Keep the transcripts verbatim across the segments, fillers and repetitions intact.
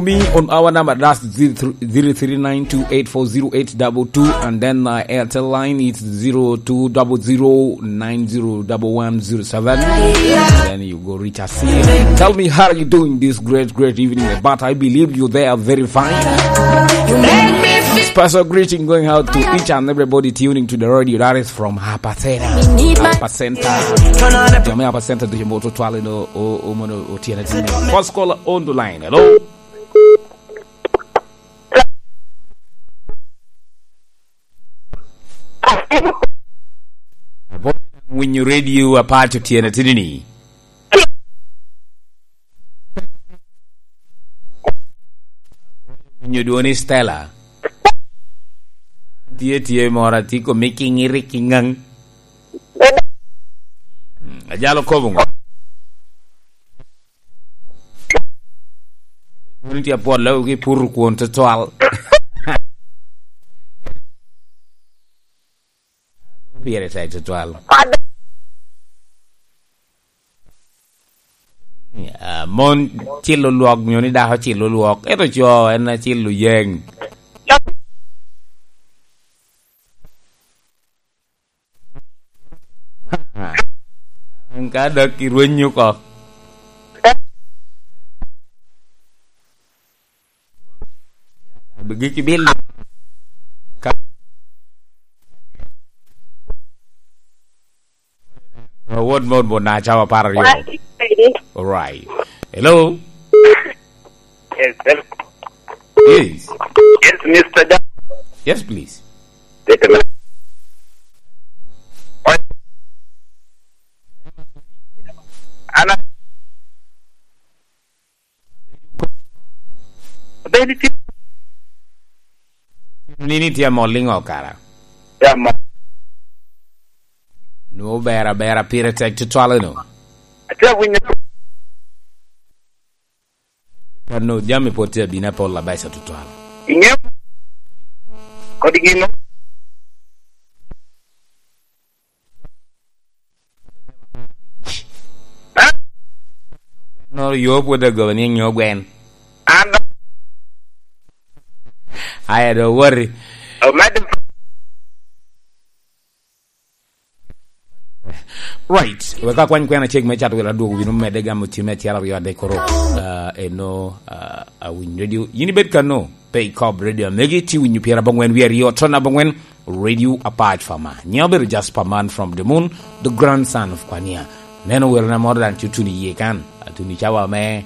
Me on our number, that's zero three nine two eight four zero eight double two, and then, uh, Airtel line, it's zero two double zero nine zero double one zero seven. Then you go reach us here. Tell me, how are you doing this great, great evening? But I believe you there are very fine. Special greeting going out to each and everybody tuning to the radio. That is from Hapa Center. Hapa Center. Jami Hapa Center, do you want to twal in o, o, o, mono, o, tiene, tiene. First caller on the line. Hello? Winyo radio apaco tyene tini ni. Winyo dwoni Stella. Tye, tye moro, atye komi ki ŋiri ki ŋaŋ. Mm, ajalo kobo ŋo? Wun tye apwot lawgi puro kwon tutwal. Pire tek tutwal. Ah, mon cilo lwok, nyo ni dako cilo lwok, ento co en acilo yeng. Ka dok irwenyo oko. Giki bil. Ka, wot, wot, wot, na cawa apar aryo. All right. Hello? Yes, hello. Yes. Yes, Mister Jack. Yes, please. Wait a minute. Ana Abedi tye. Nini tye amol liŋo kara? Tye amol. Nwo ber abera pire tek tutwal eno. Atye awinyo. Kano jami pwod tye abino apol abeco tutwal. Iŋeo kodi gino? Noro yo pwod agoba ni nyo gwen. An do. Aya do wori. Omedde. Right. Wek akwany kwena cek me cat wel adwogo wino medde gamo cime acel aryo adek koro. Ah, eno, ah, awinyo radio. Yin ibed kano, pe ikob radio. Megi ti winyo pyera abongwen wi aryo, ton abongwen. Radio apac pa ma. Nyiŋa obedo Jasper Man from the Moon, the grandson of Kwania. Neno welo na moro daŋ tye otuni iye kan. Atuni cawa me,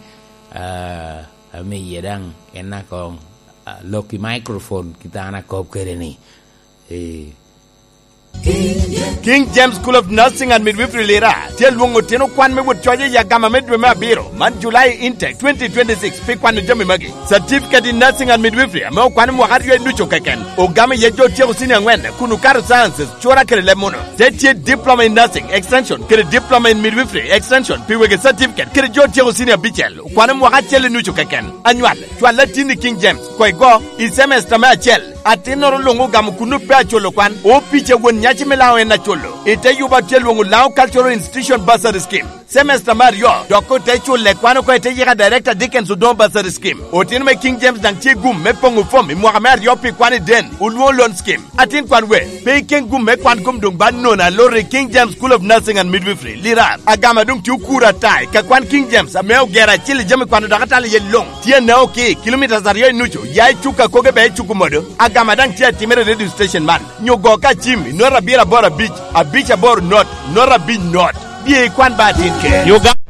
ah, ame iye daŋ en na kong, ah, lok i microphone kita an akob kede ni. Eh. King James School of Nursing and Midwifery Lira tye lwoŋo otino kwan me wot coc i agama me dwe me abiro man July intake twenty twenty-six pi kwano jami magi. Certificate in Nursing and Midwifery ame okwano mwaka aryo i nucu keken. Ogamo iye jo otyeko senior angwen kun okato sciences, cura kede leb muno. Te tye Diploma in Nursing Extension kede Diploma in Midwifery Extension pi wegi certificate kede jo otyeko senior abicel okwano mwaka acel i nucu keken. Anywal, cwal atin i King James, koi go, i semester me acel. Atinnoro luŋ ogamo kun pe aculo kwan. Opica won nyaci me Laŋo en aculo. I te yuba tye lwoŋo Laŋo Cultural Institution Bursary Scheme. Semester me aryo, dok ote culle kwan oko i te yika Director Dickens Odongo Bursary Scheme. Otino me King James daŋ tye gum me poŋo fom i mwaka me aryo pi kwan i den, olwoŋo loan scheme. Atin kwan we, pe iken gum me kwan kom doŋ ba nono aloro i King James School of Nursing and Midwifery, Lirar. Agama doŋ tye okuro ata i ka kwan King James ame ogero acil i jami kwano dok atalo iye luŋ. Tye anao ki, kilomitas aryo i nucu, ya i cuk akoge be i cuk omodo. Agama daŋ tye atimere i radio station man. Nyo go ka cim i not abiro aboro abic, abic aboro not, not abic not. Bye ikwan ba atin ke. Uganda.